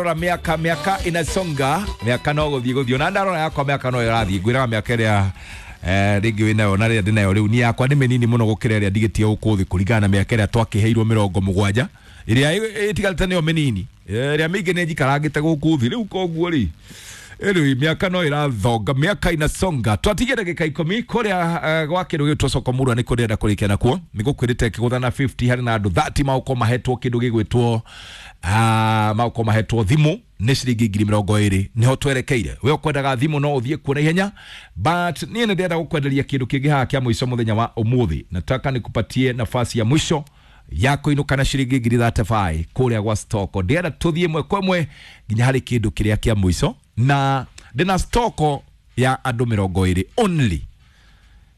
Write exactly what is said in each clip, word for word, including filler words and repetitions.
Rora miaka miaka inasonga, miaka no guthii guthii ona ndarora yakwa miaka no irathii ngwiraga miaka ĩrĩa eh ringi winayo na rĩrĩa ndĩnayo rĩu ni yakwa nĩ mĩnini mũno gũkĩra ĩrĩa ndigĩtie gũkũ thĩ kũringana na mĩaka ĩrĩa twakĩheirwo mĩrongo mũgwanja ĩrĩa ĩtigarĩte nĩyo mĩnini, ĩrĩa mĩingĩ nĩ njikarangĩte gũkũ thĩ rĩu. Koguo rĩ, rĩu miaka no ĩrathonga, miaka inasonga. Twatigia ndagĩka ikũmi kũrĩa uh, gwa kĩndũ gĩtwo soko murwa nĩ kũrĩa kũrĩkia nakuo nĩ gũkwĩrĩte kĩgũtha na mĩrongo ĩtano harĩ na andũ mĩrongo ĩtatũ magũkorwo mahetwo kĩndũ gĩgwĩtwo uh, magũkorwo mahetwo thimũ nĩ ciringi ngiri mĩrongo ĩrĩ. Nĩho twerekeire. We ũkwendaga thimũ no ũthiĩ kuo na ihenya, but niĩ nĩ ndĩrenda gũkwenderia kĩndũ kĩngĩ haha kĩa mũico mũthenya wa ũmũthĩ. Nataka nikupatie nafasi ya mwisho ya kũinũka na ciringi ngiri mĩrongo ĩtatũ na ithano kũrĩa gwa stoko. Ndĩrenda tũthiĩ ĩmwe kwa ĩmwe nginya harĩ kĩndũ kĩrĩa kĩa mũico, na ndĩna stoko ya andũ mĩrongo ĩrĩ only.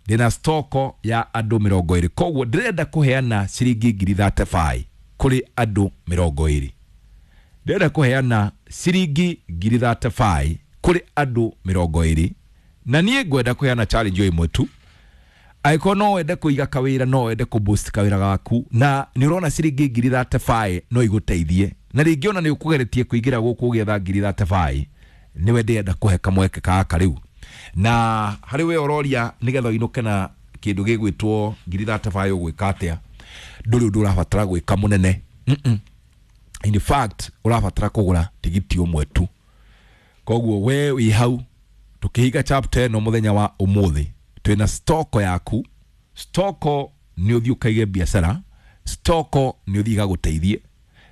Ndĩna stoko ya andũ mĩrongo ĩrĩ, koguo ndĩrenda kũheana ciringi ngiri mĩrongo ĩtatũ na ithano kũrĩ andũ mĩrongo ĩrĩ. Ndĩrenda kũheana ciringi ngiri mĩrongo ĩtatũ na ithano kũrĩ andũ mĩrongo ĩrĩ, na niĩ ngwenda kũheana challenge o ĩmwe tu. Angĩkorwo no wende kũiga kawĩra, no wende kũ boost kawĩra gaku, na nĩ ũrona ciringi ngiri mĩrongo ĩtatũ na ithano no igũteithie, na rĩngĩ ona nĩ ũkũgeretie kũingĩra gũkũ ũgĩetha ngiri mĩrongo ĩtatũ na ithano, nĩwe ndĩrenda kũhe kamweke gaka rĩu. Na harĩ we ũroria nĩgetha ũinũke na kĩndũ gĩgwĩtwo ngiri mĩrongo ĩtatũ na ithano ũgwĩka atĩa, ndũrĩ ũndũ ũrabatara gwĩka mũnene. Mm-mm. In fact, ũrabatara kũgũra tigiti ũmwe tu. Koguo we wĩ hau tũkĩhinga chapter ĩno mũthenya wa ũmũthĩ, twĩna stoko yaku. Stoko nĩ ũthiĩ ũkaige biacara, stoko nĩ ũthiĩ igagũteithie,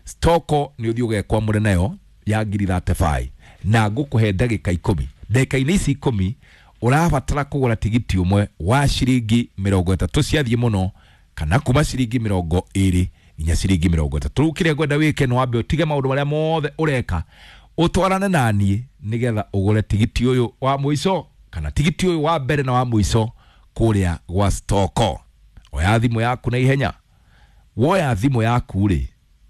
stoko nĩ ũthiĩ ũgekwamũre nayo ya ngiri mĩrongo ĩtatũ na ithano. Na ngũkũhe ndagĩka ikũmi. Ndagĩka-inĩ ici ikũmi ũrabatara kũgũra tigiti ũmwe wa ciringi mĩrongo ĩtatũ ciathiĩ mũno, kana kuma ciringi mĩrongo ĩrĩ nginya ciringi mĩrongo ĩtatũ. Rĩu kĩrĩa ngwenda wĩke no wambe ũtige maũndũ marĩa mothe ũreka, ũtwarane naniĩ nĩgetha ũgũre tigiti ũyũ wa mũico, kana tigiti ũyũ wa mbere na wa mũico kũrĩa gwa stoko. Oya thimũ yaku na ihenya. Woya thimũ yaku rĩ,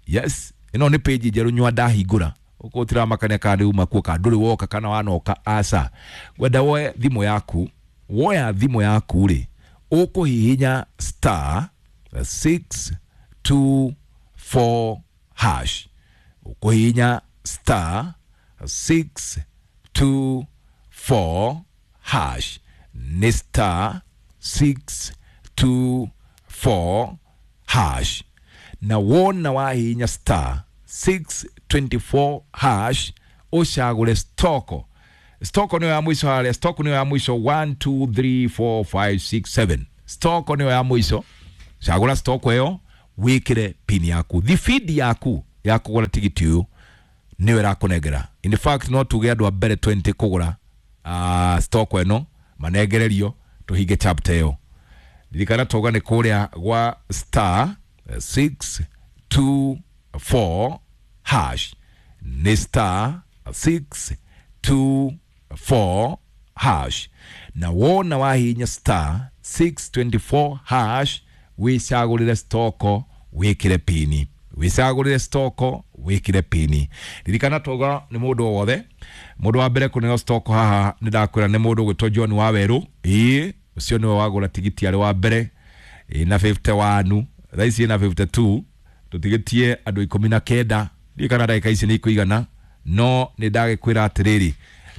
yes, ĩno nĩ page njerũ nyua ndahingũra ũkũ tiramakania kana nĩ uma kuo kana ndũrĩ woka kana wanoka, aca. Ngwenda woe thimũ yaku. Woya thimũ yaku rĩ, ũkũhihinya star six two four hash. Ũkũhihinya star six two four hash, nĩ star six two four hash. Na wona wahihinya star six twenty four hash, ũcagũre stoko. Stoko nĩyo ya mũico harĩa, stoko nĩyo ya mũico, one two three four five six seven, stoko nĩyo ya mũico. Cagũra stoko ĩyo, wĩkĩre pin yaku. Thibindi yaku ya kũgũra tigiti ũyũ nĩyo ĩrakũnengera. In fact, no tuge andũ a mbere mĩrongo ĩĩrĩ kũgũra uh, stoko ĩno manengererio tũhinge chapter ĩyo. Ririkana tauga nĩ kũrĩa gwa star six two four hash, nĩ star six two four hash. Na wona wahihinya star six twenty four hash, wĩcagũrĩre stoko, wĩkĩre pini. Wĩcagũrĩre stoko, wĩkĩre pini. Ririkana tauga nĩ mũndũ o wothe. Mũndũ wa mbere kũneo stoko haha nĩ ndakwĩra nĩ mũndũ ũgwĩtwo John Wawerũ. Ĩĩ, ũcio nĩwe wagũra tigiti arĩ wa mbere ĩna mĩrongo ĩnjano, thaa ici ĩna mĩrongo ĩnjano na igĩrĩ. Tũtigĩtie andũ ikũmi na kenda. Ndiũĩ kana ndagĩka ici nĩ ikũigana, no nĩ ndagĩkwĩra atĩrĩrĩ,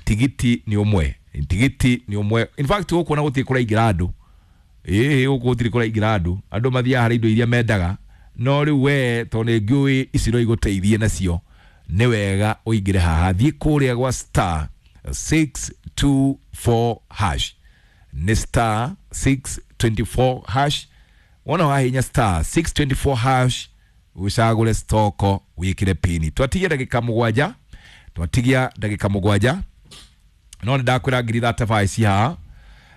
tigiti nĩ ũmwe, tigiti nĩ ũmwe. In fact, gũkũ ona gũtirĩ kũraingĩra andũ. Ĩĩ, gũkũ gũtirĩ kũraingĩra andũ. Andũ mathiaga harĩ indo iria mendaga, no rĩu we tondũ nĩ ngĩũĩ ici no igũteithie nacio, nĩ wega ũingĩre haha. Thiĩ kũrĩa gwa star six two four hash, nĩ star six twenty four hash. Wona wahinya star six twenty four hash, ũcagũre stoko, wĩkĩre pini. Twatigia ndagĩka mũgwanja, twatigia ndagĩka mũgwanja, no nĩ ndakwĩra ngiri mĩrongo ĩtatũ na ithano ci haha,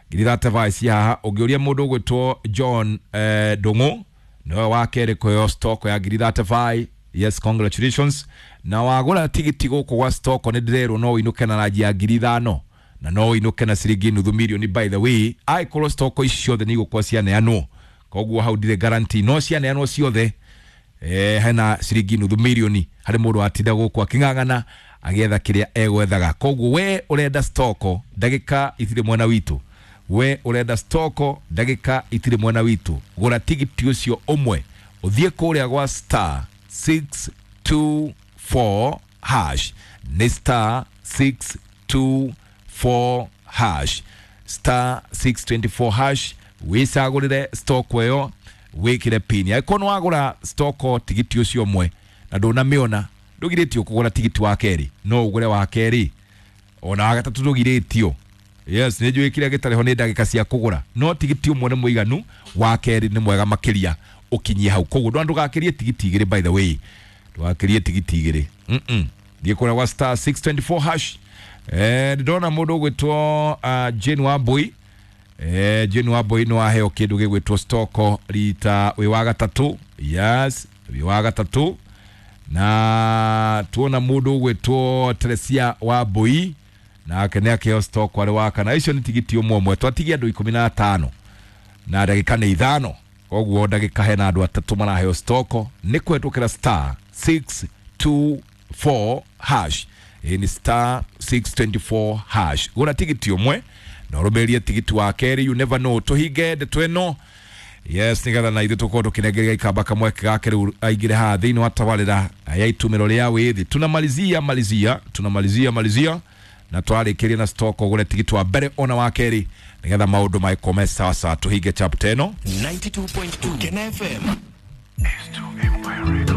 ngiri mĩrongo ĩtatũ na ithano ci haha. Ũngĩũria mũndũ ũgwĩtwo John eh, Ndũng'ũ, nĩwe wa kerĩ kũheo stoko ya ngiri mĩrongo ĩtatũ na ithano. Yes, congratulations. Na wagũra tigiti gũkũ gwa stoko, nĩ ndĩrerwo no ũinũke na ranji ya ngiri ithano, na no ũinũke na ciringi nuthu milioni. By the way, angĩkorwo stoko ici ciothe nĩ igũkorwo cianeanwo, koguo hau ndirĩ guarantee, no cianeanwo ciothe, eh, hena ciringi nuthu milioni harĩ mũndũ watinda gũkũ akĩng'ang'ana agĩetha kĩrĩa egwethaga. Koguo we ũrenda stoko, ndagĩka itirĩ mwena witũ. We ũrenda stoko, ndagĩka itirĩ mwena witũ. Gũra tigiti ũcio ũmwe, ũthiĩ kũrĩa gwa star six two four. hash, nĩ star six two four hash, star six twenty-four hash, wĩcagũrĩre stock ĩyo wĩkĩre pin. Angĩkorwo nĩ wagũra stock tigiti ũcio ũmwe na ndũnamĩona, ndũgirĩtio kũgũra tigiti wa kerĩ, no ũgũre wa kerĩ ona wa gatatũ ndũgirĩtio. Yes, nĩ njũĩ kĩrĩa gĩtarĩ ho nĩ ndagĩka cia kũgũra, no tigiti ũmwe nĩ mũiganu, wa kerĩ nĩ mwega makĩria ũkinyie hau. Koguo ndũgakĩrie tigiti igĩrĩ, by the way, ndũgakĩrie tigiti igĩrĩ. Mm-mm. Thiĩ kũrĩa gwa star six twenty-four hash. Eh, ndĩrona mũndũ ũgwĩtwo uh, Jane Wambui. Eh, Jane Wambui nĩ waheo kĩndũ gĩgwĩtwo stoko rita wĩ wa gatatũ. Yes, wĩ wa gatatũ. Na tuona mũndũ ũgwĩtwo Teresia Wambui nake nĩ akĩheo stoko arĩ wa kana. Icio nĩ tigiti ũmwe ũmwe, twatigia andũ ikũmi na atano na ndagĩka nĩ ithano, koguo ndagĩka hena andũ atatũ maraheo stoko nĩ kũhetũkĩra star six two four hash. Ĩĩ nĩ star six twenty-four hash. Gũra tigiti ũmwe na ũrũmĩrĩrie tigiti wa kerĩ, you never know. Tũhinge ndeto ĩno, yes, nĩgetha na ithuĩ tũkorwo tũkĩnengeria gĩkamba kamweke gake rĩu aingĩre haha thĩinĩ wa tabarĩra ya itumĩro rĩa wĩthĩ. Tunamalizia malizia, tunamalizia malizia na twarĩkĩria na stock ũgũre tigiti wa mbere ona wa kerĩ nĩgetha maũndũ magĩkome sawa sawa. Tũhinge chapter ĩno. ninety-two point two Kena F M. S two Empire Records.